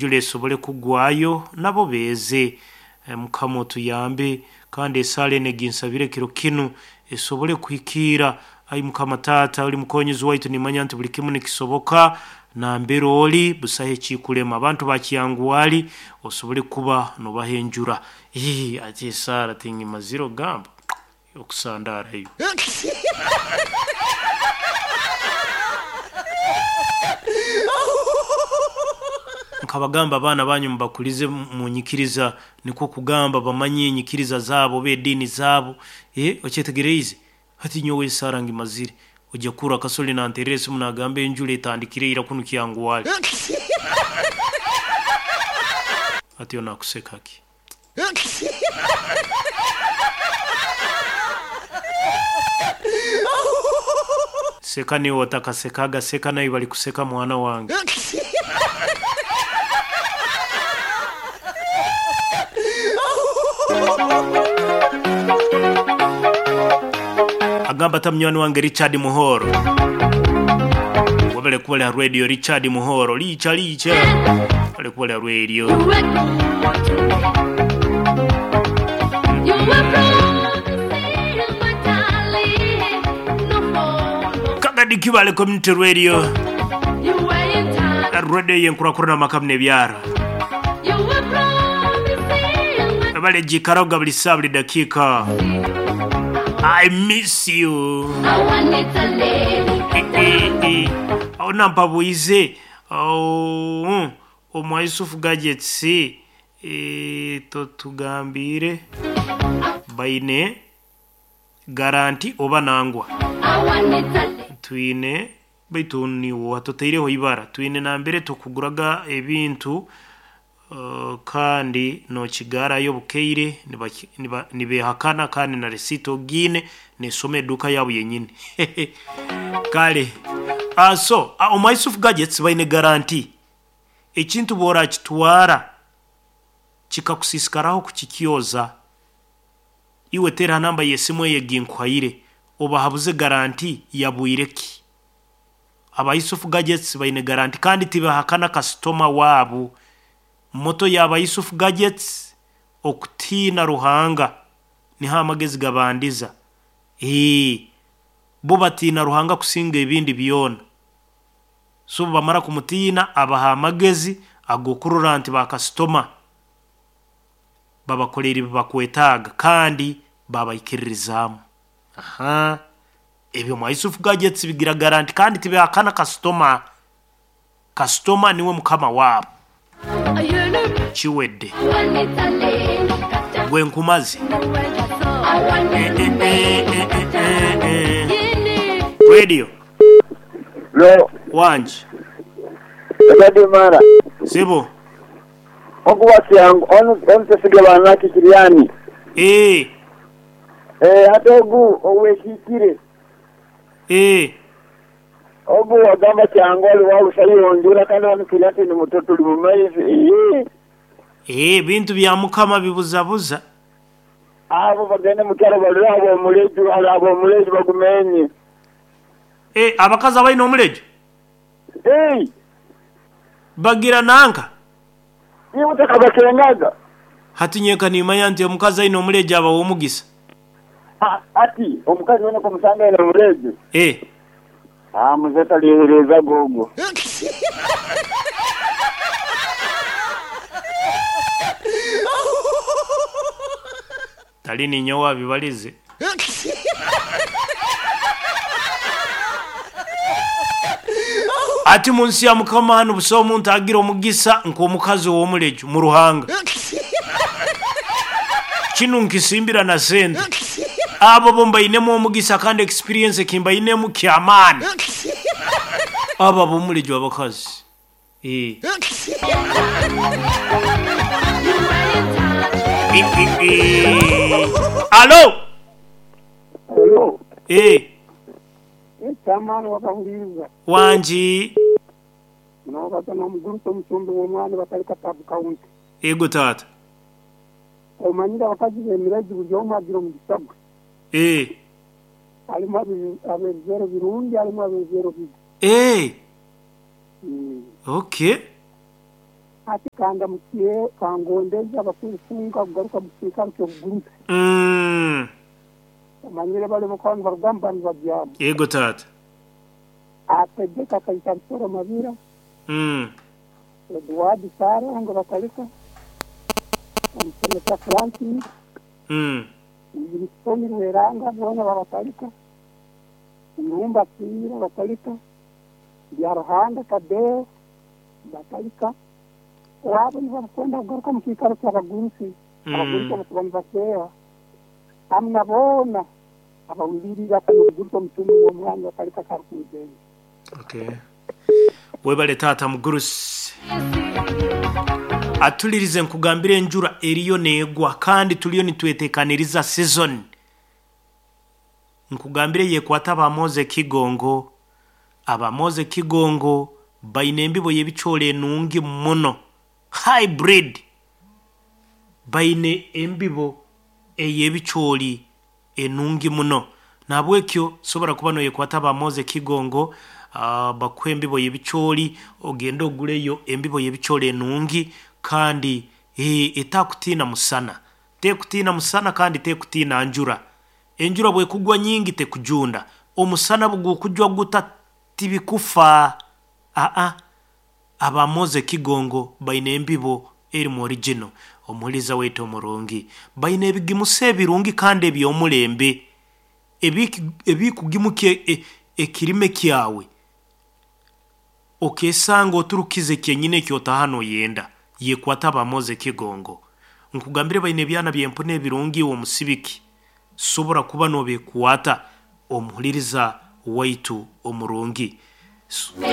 Enjura esobole kugwayo nabo beeze. Mukama otuyambe kandi esaala enu eginsabire kiro kinu esobole kuhikiira. Ai Mukama Taata oli mukonyezi waitu nimanya nti buli kimu nikisoboka nambere oli busaho ekikulema. Abantu ba Kyangwali osobole kuba nobaha enjura. Ii ati esaara tingimazire ogamba okusandaarayo. Nkabagamba abaana banyu mubakulize munyikiriza nikwo kugamba bamanye enyikiriza zaabo oba ediini zaabo. Okyetegereize? Hati nyowe esaara ngimazire. Ojja kuhurra Kasoli nanterera esimu nagamba enjura etandikire ira kunu Kyangwali. Hati onu akuseka ki? Seka niiwe otakasekaga, seka naiwe balikuseka mwana wange. Agamba ata munywani wange Richard Muhoro. Webale kuba oli ha radio Richard Muhoro. Licha licha. Webale kuba oli ha radio. Kagadi Kibale Community Radio. Radio y'enkurakurana amaka n'ebyaro. Webale gikaraga buli saa buli dakiika. I miss you. Awo nampabwize omwa Yusufu Gadgets totugambiire baine garanti oba nangwa. Twine baitu niiwe watutaireho ibara. Twine nambere tukuguraga ebintu kandi nokigarayo obukaire nibehakana kandi na risiiti ogiine nesoma eduuka yaabu yenyini. Kale so omwa Yusuf Gadgets baine garanti. Ekintu bworakitwara kikakusiisikaraho kukikyoza, iwe teera ha namba y'esimu eyo eginkuhaire obahabuze garanti ya bwire ki. Aba Yusuf Gadgets baine garanti kandi tibahakana kasitoma waabu. Moto y'aba Yusuf Gadgets okutiina Ruhanga niho amagezi gabandiza. Eeh bo batiina Ruhanga kusinga ebindi byona. So obu bamara kumutiina abaha amagezi ag'okurora nti ba kasitoma babakoleire ebi bakwetaaga kandi babaikiririzaamu. Ahaa ebyo mwa Yusuf Gadgets bigira garanti kandi tibihakana kasitoma. Kasitoma niwe mukama waabo. Kiwedde. Gwe nkumaze. Radio. Lo, Wangi. Daddy Mara. Sebo. Ogu wa Kyangu, onu onu Twesige Banaki Kiriani. Eeh. Eeh hati ogu owekiikire. Eeh. Ogu wagamba Kyangu ali wa Lusayonjura kandi wanu Kiriati ni muto tuli mu maizi. Iyii. Eeh ebintu bya Mukama bibuzabuza. Abo bagende mu kyalo balire ab'omuleju, ale ab'omuleju bagumenye. Eeh abakazi abaine omuleju? Eeh. Bagira nanka? Iwe takabakengaga? Hati nyenka nimanya nti omukazi aine omuleju aba w'omugisa. Ati omukazi wena k'omusanga aine omuleju? Eeh. Aa muze talyeherezaga ogwo. Tali ninyowe abibalize. Ati mu nsi ya Mukama hanu busaho omuntu agira omugisa nk'omukazi ow'omuleju mu Ruhanga. Kinu nkisimbira na sente. Abo bo mbainemu omugisa kandi experience ekimbainemu ky'amaani. Abo ab'omuleju abakazi. Eeh. Alo! Alo. Eeh. Eky'amaani wakahuliiriza. Wangi. Nobaza n'omugurusi omucumbi w'omwani Batalika Sub County. Ego taata. Omanyire abakazi b'emirezi buli omu agira omugisa gwe. Eeh. Harimu ab'ebijwaro birungi harimu ab'ebijwaro bibi. Eeh. Okay. Hati kandamukye kangondeze abakurufunga kugaruka mu kiikaro ky'obugurusi. Omanyire bali bakaba nibarugamba nibabyama. Yego taata. Ategeka Kaita Nsoro Mabira, Edward Sarongo Batalika, Omusomesa Francis, Wilson Rweranga boona babatalika, Irumba Kiira Batalika, Byaruhanga Tadeo Batalika. Abo nibakwenda kugaruka mu kiikaro ky'abagurusi, abagurusi abakuba nibaseera, hamu na boona abawuliriire omugurusi omucumbi w'omwani Batalika Karukunzenze. Okay. Webale taata mugurusi. Atulirize nkugambire enjura eriyo neegwa kandi tuliyo nitwetekaniriza season. Nkugambire yekwata abamoze Kigongo. Abamoze Kigongo baine embibo y'ebicoori enungi muno. Hybrid. Baine embibo ey'ebicoori enungi muno. Nahabwekyo sobora kuba noyekwata abamoze Kigongo, bakuhe embibo y'ebicoori, ogende oguleyo embibo y'ebicoori enungi kandi etakutiina musana. Tekutiina musana kandi tekutiina njura. Enjura bwekugwa nyingi tekujunda. Omusana bugukujwa guta tibikufa. Abamoze Kigongo baine embibo erimu original. Omuhuriza waitu omurungi. Baine ebigimusa ebirungi kandi eby'omulembe. Ebikugimuka ekirime kyawe. Okesanga oturukize kyenyine ekyotaha noyenda. Yekwata abamoze Kigongo. Nkugambire baine ebyana by'empuna ebirungi omusibiki. Sobora kuba nobekwata omuhuririza waitu omurungi.